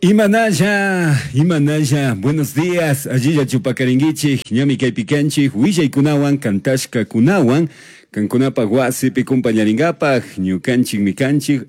Imanalla, imanalla, buenos días, allillachu pakarinkichik, ñami kaypi kanchik, willaykunawan, kantashkakunawan, kankunapak wasipi kumpañarinkapak, ñukanchikmi kanchik.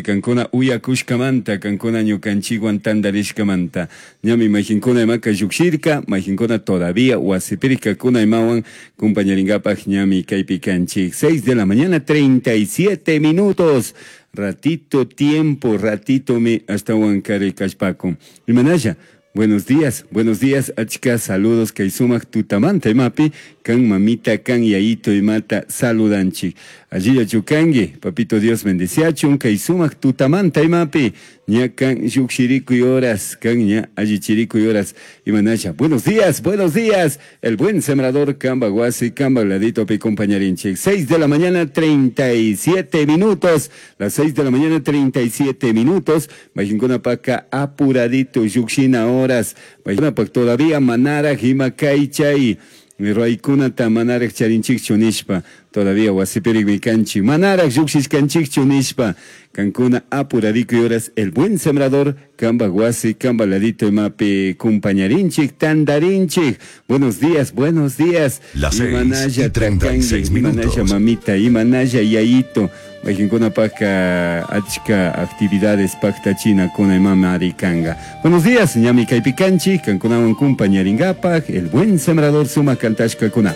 Kankuna uyakushkamanta, kankuna ñukanchikwan tantarishkamanta. Ñami mayjinkuna imaka llukshirka, mayjinkuna todavía wasipirkakuna imawan kumpañarinkapak ñami kaypi kanchik. 6 de la mañana, 37 minutos. Ratito tiempo, ratitomi ashtawan kari kallpakun. Imanalla, buenos días, buenos días, achka saludos kay sumak tutamanta imapi, kan mamita, kan yayito imata saludanchik. Allillachu kanki, papito Dios bendeciachun, kay sumak tutamanta imapi, ña kan llukshirikuy horas, kan ña allichirikuy horas, imanalla. Buenos días, buenos días, el buen sembrador kamba wasi, kamba ladito pi compañarinchik. 6 de la mañana, 37 minutos, las 6 de la mañana, 37 minutos, Majinkuna paka apuradito llukshina horas, pak todavía manaraj ima kaychay, raykunata manaraj charinchikchu nishpa, todavía wasipirikmi kanchik, manaraj llukshishkanchikchu nishpa, kankuna apurarikuy horas, el buen sembrador, kamba wasi, kamba ladito imapi kumpañarinchik, tandarinchik. Buenos días, buenos días. Las 6 Imanalla y 36 takanki, imanalla minutos. mamita, imanalla yayito. Mayjinkuna paka achka actividades paktachina kuna imama arikanga. Buenos días, ñami kaypi kanchik, kankunawan kumpañarinkapak, el buen sembrador suma kantashka kuna.